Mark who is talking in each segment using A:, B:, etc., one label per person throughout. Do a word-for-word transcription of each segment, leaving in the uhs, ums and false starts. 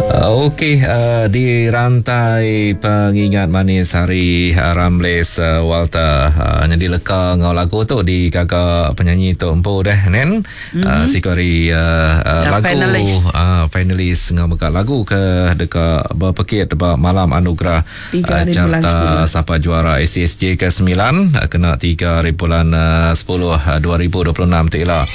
A: Uh, Okey, uh, di rantai pengingat manis hari uh, Ramles uh, Walter uh, jadi leka ngau lagu tu di kakak penyanyi tu empu deh nen. Mm-hmm. Uh, sikori uh, uh, lagu
B: finalis.
A: uh, finalis ngau mega lagu ke dekat berpekit ba malam anugerah
B: Tiga
A: uh,
B: hari bulan
A: carta
B: sepuluh.
A: Sapa Juara S C S J kesembilan uh, kena tiga hari bulan uh, sepuluh uh, dua ribu dua puluh enam tu ila.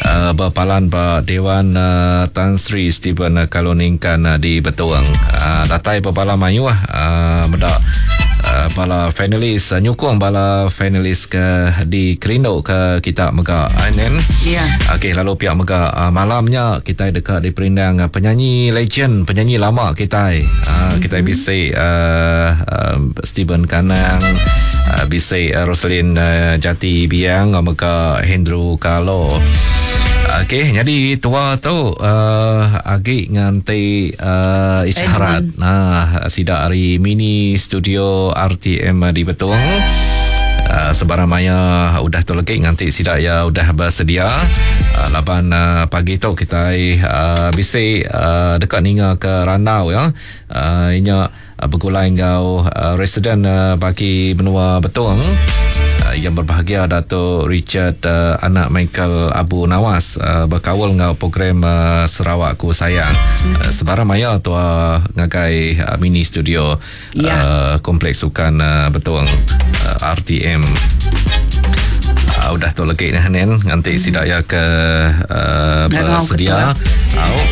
A: Uh, berpalan ba Dewan uh, Tan Sri Stephen uh, Kaloningkan uh, di Betuang. Uh, datai bala mayuh uh, medak uh, bala finalis uh, nyukung bala finalis ke di Kerindo ke kita mega nen.
B: Ya.
A: Okey, lalu pihak mega uh, malamnya kita dekat di Perindang uh, penyanyi legend, penyanyi lama kita. Uh, kita mm-hmm. bisa uh, uh, Stephen Kanang, uh, bisa uh, Roslin uh, Jati Biang, mega Hendro Kalo. Okey, jadi tua tu uh, agi nganti uh, isyarat. Nah, sidak hari mini studio R T M di Betung. Uh, sebarang maya udah tu lagi nganti sidak ya udah bersedia. Uh, laban uh, pagi tu kita uh, bisa uh, dekat ninga ke Randau ya. Uh, inya uh, bergulai ngau uh, residen uh, bagi benua Betung uh, yang berbahagia Dato' Richard uh, anak Michael Abu Nawas uh, berkawal ngau program uh, Sarawakku Sayang. Uh, sebarang maya tua ngagai uh, mini studio
B: Ya.
A: uh, Kompleks Sukan uh, Betung uh, R T M. Uh, udah tu lagi nah nen nanti hmm. sidak ya ke uh,
B: Ngau
A: bersedia. Au.